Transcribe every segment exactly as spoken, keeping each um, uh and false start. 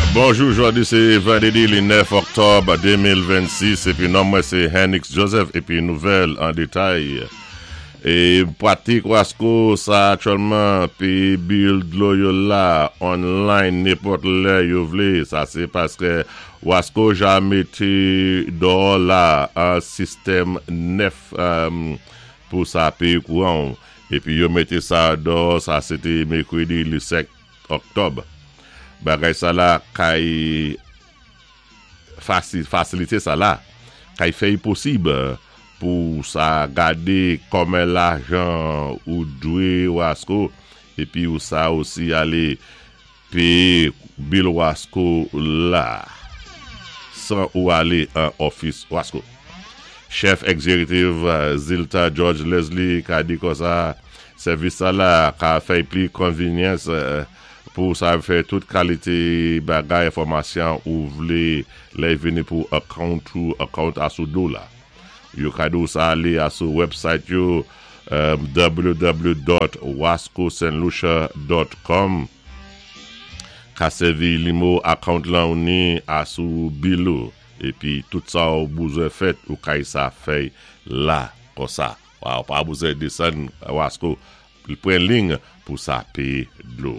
Bonjou, jòdi sé vandédi li nèf òktòb de mil vennsis épi non mwen sé Henix Joseph épi nouvèl an détay. É pratik Wasco sa aktyèlman péyé bill dlo yo la online nenpòt lè yo vlé. Sa sé paské Wasco ja mété dò la an sistèm nèf um, pou sa péyé kouwan. Épi yo mété sa dò, sa sé té mèkwédi li sèt òktòb. Bagay sa la kay fasi, fasilité sa la kay fè posib pou sa gadé konmen lajan ou dwé Wasco épi ou sa osi alé péyé bill Wasco la san ou alé an ofis Wasco. Chèf egzékitif Zilta George Leslie ka di konsa sèvis sa la ka fè pli konvinyans pou sa fè tout kalité bagay enfòmasyon ou vlé lè vini pou account ou account asou do la. Yo ka di ou sa alé asou website yo um, w w w dot wascosaintlucia dot com ka sèvi nimewo account lan ou ni asou bill ou épi tout sa ou bezwen fèt ou kay sa fè la konsa. Ou pa bezwen désann Wasco pran ling pou sa péyé dlo.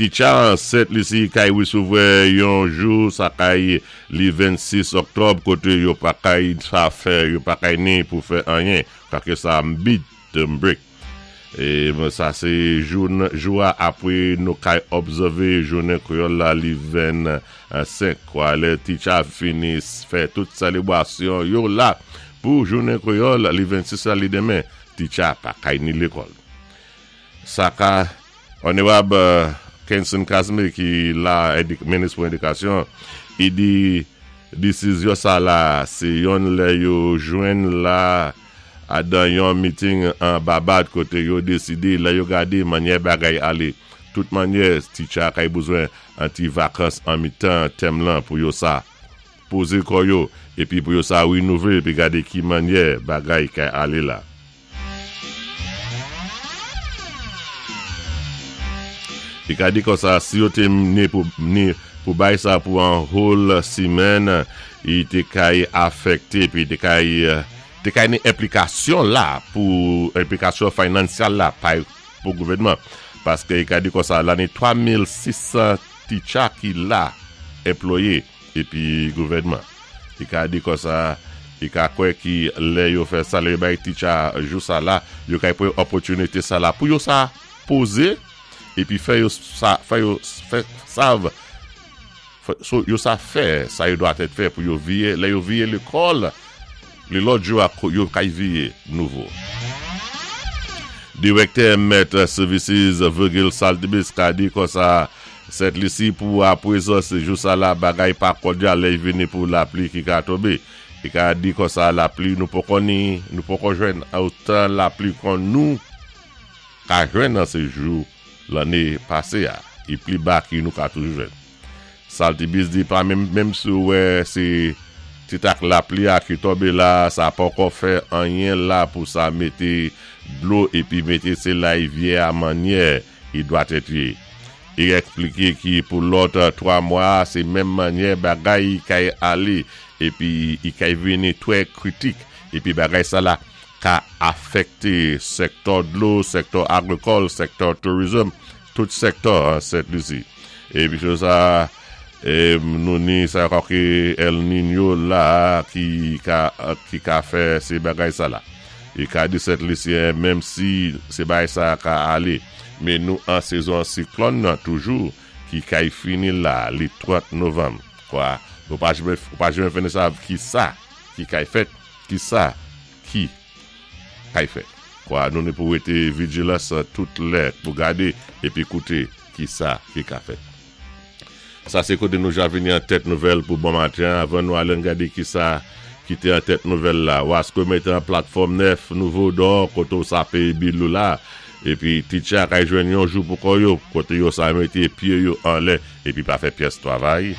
Ticha Sent Lisi kay wésouvoua yon jou sa kay li vennsis òktòb koté yo pa kay sa fè, yo pa kay ni pou fè anyen, paské sa midterm break. É sa sé jou, jou apwé nou kay obsèvé jounen kwéyòl la li vennsenk kwa lè ticha fini fè tout sélébwasyon yo la pou jounen kwéyòl li vennsis la li denmen, ticha pa kay ni lékòl. Sa ka Onorab Kenson Casimir ki la minis pou édikasyon, i di désizyon sa la, sé yon lè yo jwenn la adan yon meeting an Babad koté yo désidé lè yo gadé manyè bagay alé. Tout manyè ticha kay bezwen an ti vakans an mitan tèm lan pou yo sa pozé kò yo épi pou yo sa winouvlé épi gadé ki manyè bagay kay alé la. I ka di konsa, si yo té ni pou, ni pou bay sa pou an whole simèn, i té kay afèkté, pi té kay, té kay ni enplikasyon la, pou enplikasyon finansyal la, pay pou gouvèdman. Paské i ka di konsa, la ni twa mil sis san ticha ki la, anplwayé, épi gouvèdman. I ka di konsa, i ka kwè ki lè yo fè sa, lè yo bay ticha jou sa la, yo kay pran opòtinité sa la, pou yo sa pozé, épi fè yo sa, fè yo fè sav, so, yo sa fè, sa yo dwa tèt fè pou yo viyé, lè yo viyé lékòl, lé lòt jou yo kay viyé nouvo. Direktè Met Services Virgil Saltibus ka di konsa, Sent Lisi pou apwézan sé jou sa la bagay pa kòdyal lè vini pou lapli ki ka tonbé. I ka di konsa lapli nou poko ni, nou poko jwenn otan lapli kon nou ka jwenn nan sé jou lanné pasé a. I pli ba ki nou ka toujou jwenn. Saltibus di pa menm, menm si wè sé ti tak lapli a ki tonbé la, sa poko fè anyen la pou sa mété dlo épi mété sé larivyè a manyè i dwa tèt yé. I ekspliké ki pou lòt twa mwa, sé menm manyè bagay kay alé épi i kay vini twè kritik épi bagay sa la ka afèkté sèktò dlo, sèktò agrikòl, sèktò tourism, tout sèktò an Sent Lisi. Épi sa é, nou ni sa ki El Niño la ki ka ki ka fè sé bagay sa la. I ka di Sent Lisyen menm si sé bagay sa ka alé, men nou an sezon siklòn nan toujou ki kay fini la li trant novanm. Kwa, nou pa janmé pa janmé fini sa ki sa ki kay fèt, ki sa ki kay fèt. Kwa, nou ni pou wété vijilans tout lè pou gadé épi kouté ki sa ki ka fèt. Sa sé koté nou ja vini an tèt nouvèl pou bon maten avan nou alé gadé ki sa ki té an tèt nouvèl la. Wasco mété an platfòm nèf nouvo dò koté ou sa péyé bill ou la épi ticha kay jwenn yon jou pou kò yo koté yo sa mété pyé yo anlè épi pa fè pyès twavay.